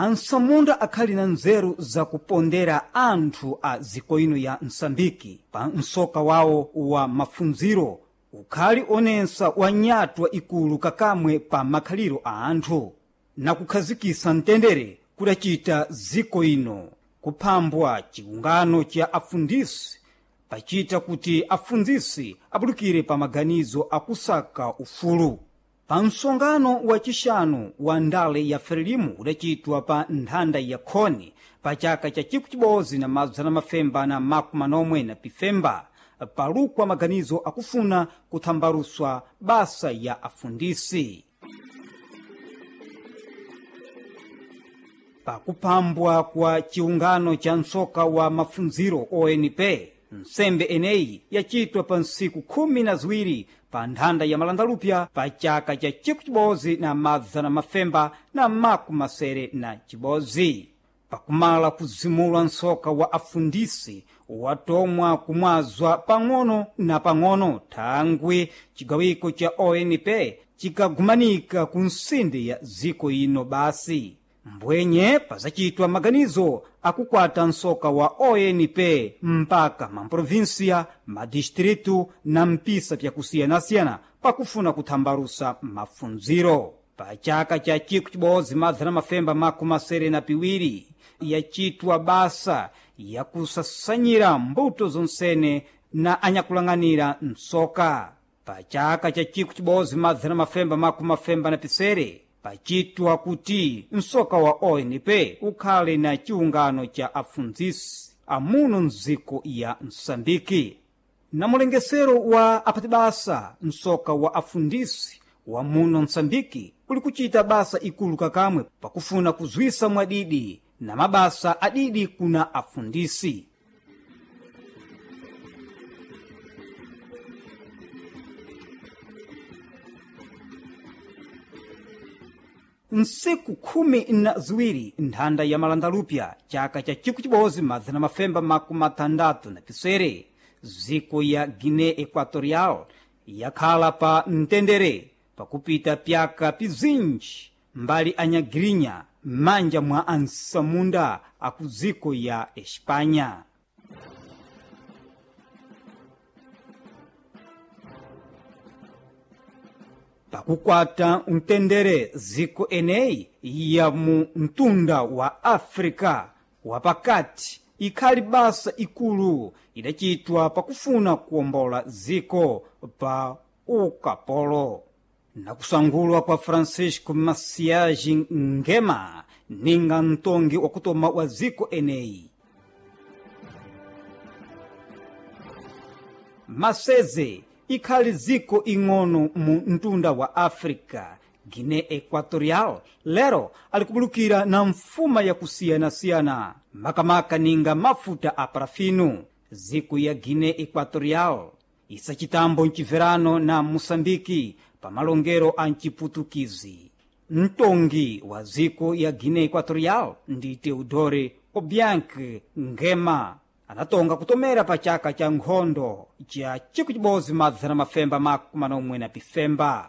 Ansamunda akhali na nzeru zakupondera anthu a ziko ino ya Msambiki pa msoka wawo wa mafunziro ukhali onensa wa nyatwa ikulu kakamwe pa makhaliro a anthu na kukhazikisa mtendere kudacita ziko ino kuphambwa chiungano cha afundisi pachita kuti afundzisi abulukire pa maganizo akusaka ufulu. Pa msongano wacixanu wa ndale ya Frelimu udacitwa pa nthanda ya Khoni pa chaka cha 1945 palukwa maganizo akufuna kuthambaruswa basa ya afundisi. Pakuphambwa kwa chiungano cha msoka wa mafunziro ONP, nsembe eneyi yacitwa pa ntsiku 12 pa nthanda ya Malandalupya pa chaka cha 1961. Pakumala kuzimulwa msoka wa afundisi watomwa kumwazwa pang'ono na pang'ono thangwi cigawiko cha ONP cikagumanika ku nsinde ya ziko ino basi. Mbwenye pazacitwa maganizo akukwata msoka wa ONP mpaka mamprovinsia, madistritu na mpisa pyakusiyanasiyana pakufuna kuthambarusa mafunziro. Pa chaka cha 1972 yacitwa basa yakusasanyira mbuto zonsene na anyakulang'anira msoka. Pa chaka cha 1957 pacitwa kuti msoka wa ONP ukhale na chiungano cha afundzisi amuno mdziko ya Msambiki. Na mulengesero wa apatibasa msoka wa afundisi wa muno Msambiki uli kucita basa ikulu kakamwe pakufuna kuzwisa mwadidi na mabasa adidi kuna afundisi. Nsiku 12 nthanda ya Malandalupya chaka cha 1967 ziko ya Guiné Equatorial yakhala pa mtendere pakupita pyaka pizinji mbali anyagirinya m'manja mwa ansamunda aku ziko ya Espanha. Pakukwata mtendere ziko eneyi ya mu mtunda wa Afrika wapakati ikhali basa ikulu idacitwa pakufuna kuwombola ziko pa ukapolo. Nakusangulwa kwa Francisco Macias Nguema ninga mtongi wakutoma wa ziko eneyi. Maseze ikhali ziko ing'ono mu mtunda wa Africa. Guiné Equatorial lero alikubulukira na mfuma yakusiyanasiyana makamaka ninga mafuta a parafino. Ziko ya Guiné Equatorial isacitambo mcibverano na Moçambike pa malongero a mciputukizi. Mtongi wa ziko ya Guiné Equatorial ndi Teodoro Obiang Nguema anatonga kutomera pa chaka cha nkhondo cha 1995.